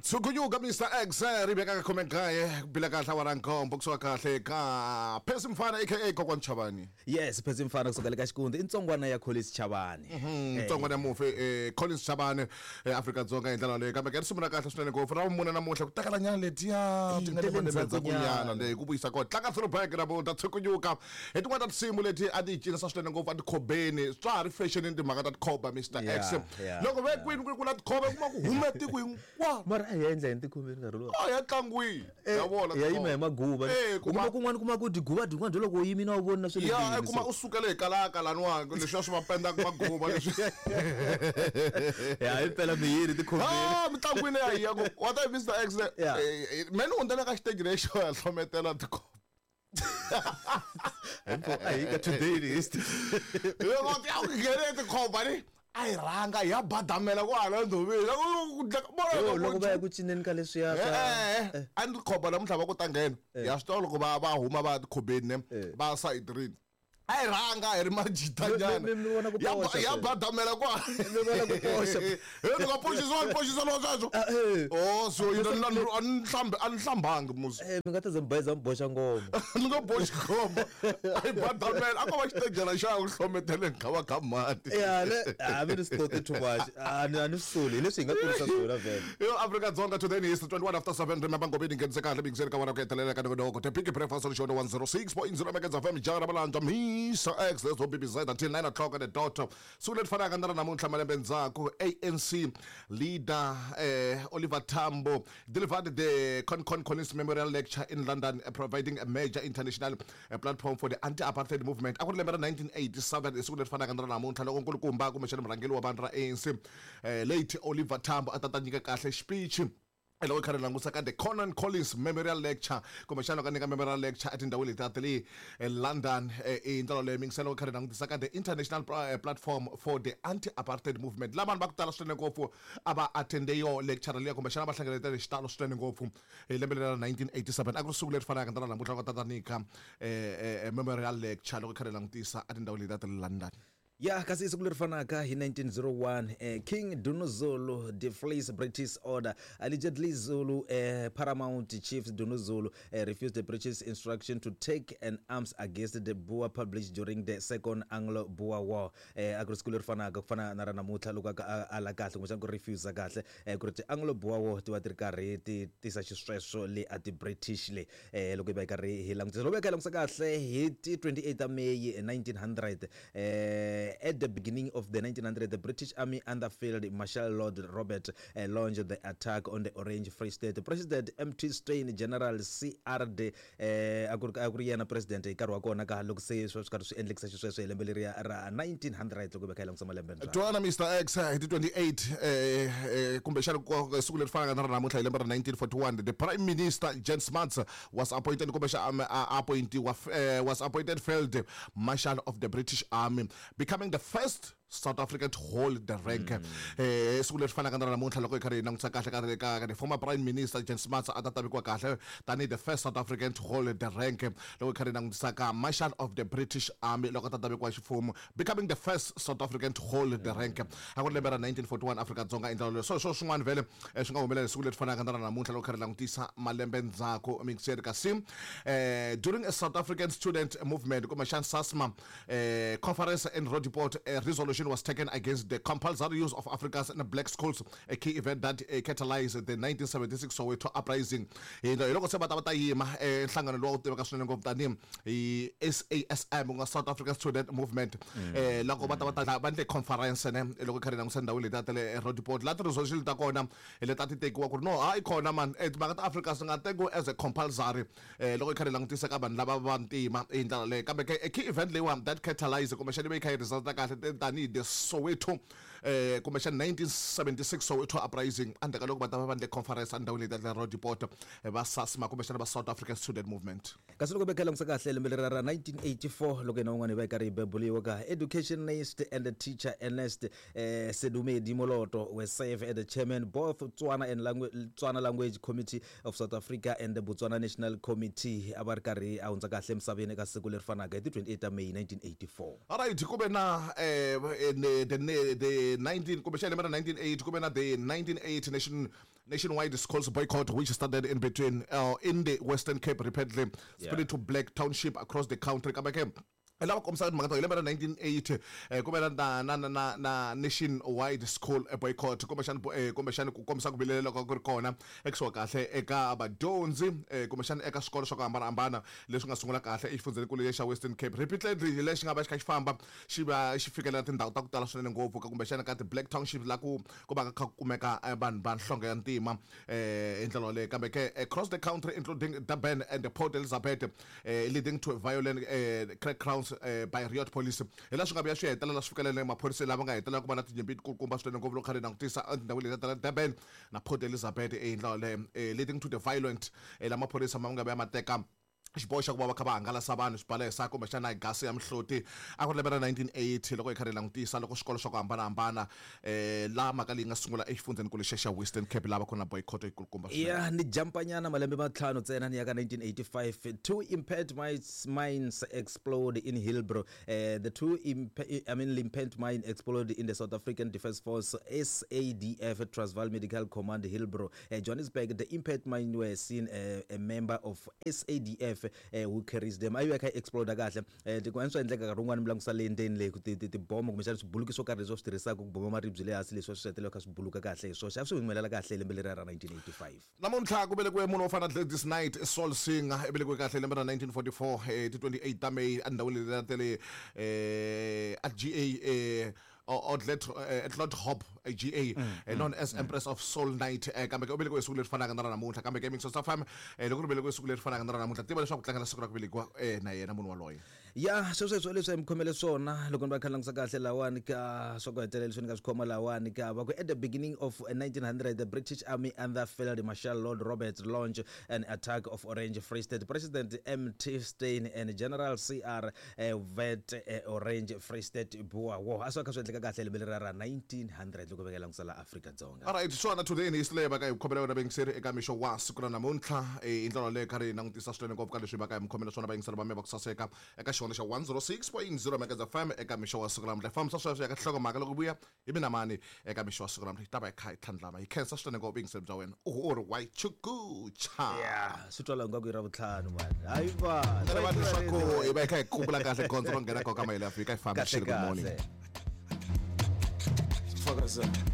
Tshukunyuka Mr X ri veka ka khume nkaye ku bila kahle awara nkombo kusuka kahle ka Phesi Mfana aka Kokwani Chavani. Yes, Phesi Mfana kusuka le ka Xikundi i ntsongwana ya Collins Chavani. Ntsongwana ya mufi Collins Chavani eAfrika Dzonga hi ndlela leyi kambe ke risimu ra kahle swinene ngopfu ra vumune namuntlha ku takala nyana letiya ti nga le tele malembe ndzhaku ndzhakunyana leyi ku vuyisa kona tlanga throwback namuntlha tshukunyuka hi tin'wana ta tinsimu leti a ti yi cinisa swinene ngopfu a tikhobeni swa ha ri fashionini timhaka ta tikhoba Mr X loko ve kwini ku ri ku na tikhoba kuma ku hume tiko hinkwaro mara a hi endla yini tikhobeni nkarhi lowu a ya tlangwini ya vona ya yima hi maguva Eh, u kuma kuma- kun'wana kuma ku tiguva tin'wana byo loko u yimile a wu voni na swa le ya ndlwini, kuma so- u sukele hi kalaka laniwani leswiya swi va pendaka maguva leswi ya hi mpela miyini tikhobeni Ah, mitlangwini ya hiya ku wa ta hi Mr X le Yeah. me ni hundzela ka xiteji lexo ya hlometela tikhoba a hi ka today in history loko ti ya ku nghene tikhomba ni a yi rhanga ya badamela ku hala ndhoveni Yo, loko va ya ku cineni ka leswiya swa a ni khomba namuntlha va ku ta nghena ya swi tiva loko va va huma va tikhobeni ne va sayitirini a yi rhanga hi ri majitanyana Mi- mi vona ku Ya poxa ya phela. badamela kwa Mi vona ku poxa. ni nga poxisiwa ni poxisa lo sweswo Ah, eh. oh so yina a ni hlambi a ni hlambangi musi Eh, mi nga ta ze mi bayiza mi boxa ngoma ni nga boxi khomba a yi badamela a ko va xitejana xa ku hlometeleni ka va ka mati ya le a mi ni swi toti too much a ni a ni swi soli hi leswi hi nga kurisa swona vhele Yo Afrika Dzonga today is 21 after 7 remember ngobeni nghenise kahle bingiseni ka wena ku hetelela ka nongonoko the big breakfast on show 106.0 Megahertz FM jara balanja Mr X let's hope be until 9 o'clock at the dot siku leri fanaka na ra namuntlha malembe ndzhaku ANC leader Oliver Tambo delivered the Con Collins Memorial Lecture in London providing a major international platform for the anti-apartheid movement a ku ri lembe ra 1987 i siku leri fanaka na ra namuntlha loko nkulukumba kumbexana murhangeri wa vanhu ra ANC late Oliver Tambo a ta ta nyika kahle xipichi loko hi kha ri langusa ka the Conan Collins Memorial Lecture kumbexana ka nyika Memorial Lecture etindhawini leti ta le London i ndlela leyi mingisela loko hi kha ri langutisa ka the International Platform for the Anti-Apartheid Movement la vanhu va ku tala swinene ngopfu a va attende yo lecture liya kumbexana va hlengeletele xitalo swinene ngopfu hi lembe leri ra 1987 a ku ri siku leri fanaka na ra namuntlha loko ta ta nyika Memorial Lecture loko hi kha ri langutisa etindhawini leti ta le London. Ya kasi siku leri fanaka hi 1901 King Dinuzulu deflates British order. Allegedly Zulu paramount chief Dinuzulu refused the British instruction to take an arms against the Boer published during the Second Anglo-Boer War. A ku ri siku leri fanaka ku fana na ra namuntlha loko a ala kahle kumbexana ku refuse kahle ku ri ti-Anglo-Boer War ti va ti ri karhi ti tisa xisweswo le a ti-British le loko hi va hi karhi hi langutisa loko hi kha hi langutisa kahle hi ti 28 ta May 1900 at the beginning of the 1900 the British Army under Field Marshal Lord Robert launched the attack on the Orange Free State. President MT Steyn General CRD a ku ri yena president hi nkarhi wa kona ka loko se swi karhi swi endlekisa xisweswo hi lembe leriya ra 1900 loko hi va kha hi langutisa malembe ndzhaku. Twana Mr X hi ti 28 kumbexana siku leri fanaka na ra namuntlha hi lembe ra 1941 the Prime Minister Jan Smuts was appointed kumbexana appointiwa was appointed Field Marshal of the British Army becoming the first South African to hold the rank. Siku leri fanaka na ra namuntlha loko hi karhi hi langutisa kahle ka the former Prime Minister Jan Smuts a ta ta vekiwa kahle tanihi the first South African to hold the rank loko hi karhi hi langutisa ka Marshal of the British Army loko a ta ta vekiwa ximfumo becoming the first South African to hold the rank. A ku ri lembe ra 1941 Afrika Dzonga i ndlela leyo so swo swin'wana vhele swi nga humelela siku leri fanaka na ra namuntlha loko hi karhi hi langutisa malembe ndzhaku mixeri kasi during a South African student movement kumbexana SASMA conference in Roodepoort a resolution was taken against the compulsory use of Afrikaans in black schools, a key event that catalyzed the 1976 Soweto uprising. Hi loko se va ta va ta yima nhlangano lowu tiveka swinene ngopfu tanihi hi SASM ku nga South African Student Movement loko va ta va ta va endle conference ne loko hi kha hi langutisa ndhawu leti ta le Roodepoort la ti-resolution ta kona leti a ti tekiwa ku ri no hayi kona man timhaka ta Afrika swi nga tekiwi as a compulsory loko hi kha hi langutisa ka vanhu lava va ntima hi ndlela leyo kambe ke a key event leyiwani that catalyzed kumbexana yi va yi kha yi resulta kahle tanihi the Soweto kumbexana 1976 Soweto uprising endzhaku ka loko va ta va va endle conference endhawini leyi ta le Roodepoort va SASMA kumbexana va South African Student Movement. Kasi loko va langutisa kahle lembe leri ra 1984 loko yena un'wana hi va yi karhi yi bebuliwa ka educationist and teacher Ernest Sedumedi Moloto were served as the chairman both Tswana and Tswana Language Committee of South Africa and the Botswana National Committee a va ri karhi a hundza kahle emisaveni eka siku leri fanaka hi ti 28 ta May 1984. All right, ku ve na the the 19 kumbexana lembe ra 1980 ku ve na the 1980 nationwide schools boycott, which started in between in the Western Cape, repeatedly spread to black township across the country. Kambe ke lava kombisaka timhaka ta hi lembe ra 1980 ku ve na nationwide school boycott, kumbexani ku kombisa ku vilela loko ku ri kona ekusuhi kahle eka vadyondzi, kumbexani eka swikolo swa ku hambanahambana leswi nga sungula kahle exifundzhenikulu xa Western Cape. Repeatedly lexi nga va xi kha xi famba xi va xi fikelela tindhawu ta ku tala swinene ngopfu ka kumbexana ka ti-black township la ku va kha ku kumeka vanhu va nhlonge ya ntima hi ndlela yaleyo. Kambe ke across the country, including Durban and Port Elizabeth, leading to violent crackdowns by riot police. Hi laha swi nga vuya swi hetelela swi fikelele maphorisa lava nga hetelela ku va na tinyimpi kulukumba swinene ngopfu loko kha ri langutisa etindhawini leti ta Durban na Port Elizabeth hi ndlela yaleyo, leading to the violent la maphorisa ma nga vuya ma teka xiboho xa ku va va kha va hangalasa vanhu swibalesa kumbexana hi gasi ya mihloti. A ku ri lembe ra 1980 loko hi kha ri langutisa loko swikolo swa ku hambanahambana laha mhaka leyi nga sungula exifundzhenikulu xa Western Cape, lava ku na boycott yikulukumba swinene. Ya, ni jampanyana malembe matlhanu ntsena ni ya ka 1985. Two impact mines explode in Hillbrow. The two I mean limpet mine explode in the South African Defence Force SADF Transvaal Medical Command, Hillbrow, Johannesburg. The impact mine were seen a member of SADF who carries them. A yi kha yi explode kahle. Tin'wana swa endleka nkarhi wun'wani mi langutisa le ndzeni le ku tibomo kumbexana swibuluki swo karhi leswi va swi tirhisaka ku boma maribye le hansi, leswi va swi hetelela kha swi buluka kahle hi swoxe. A swi humelela kahle hi lembe leriya ra 1985. Namuntlha ku velekiwe munhu wo fana na Gladys Knight, soul singer. I velekiwe kahle lembe ra 1944, ti 28 ta May, endhawini leyi ta le at GA Atlot Hop GA, known as Empress of Soul Night. Kambe ke u velekiwe siku leri fanaka na ra namuntlha. Kambe ke Mixo FM, loko ri velekiwe siku leri fanaka na ra namuntlha, tiva leswaku tlangela siku ra ku velekiwa na yena munhu waloye. Ya, sweswo leswi hi mi khomele swona. Loko ni va kha langutisa kahle lawani ka swa ku hetelela leswi ni nga swi khoma lawani ka va ku at the beginning of 1900, the British Army under Field Marshal Lord Roberts launched an attack of Orange Free State. President MT Steyn and General CR Vet Orange Free State Boer War. A swi kha swi endleka kahle lembe leriya ra 1900 loko va langutisa la Afrika-Dzonga. Alright, swona today ni leyi va ka hi khomela yona vayingiseri eka mixo wa siku ra namuntlha. Hi ndlela yaleyo kha ri langutisa swinene ngopfu ka leswi va ka hi mi khomela swona vayingiseri va me va ku saseka eka xona xa 106.0 Megahertz FM eka mixo wa siku ra namuntlha. Hi fambisa sweswo ya ka nhlokomhaka loko vuya hi mina mani eka mixo wa siku ra namuntlha, hi ta va hi kha hi tlhandlama. Hi khensa swinene ngopfu vuyingiseri bya wena. U ri wa chukucha. Ya, swi twala ingaku i ra vutlhanu mani, hayi va. Va leswaku hi va hi kha hi kukula kahle gondzo ro nghena koka mahelo ya fika hi Kahle. fambisile. Good morning. Kahle. Fakaza.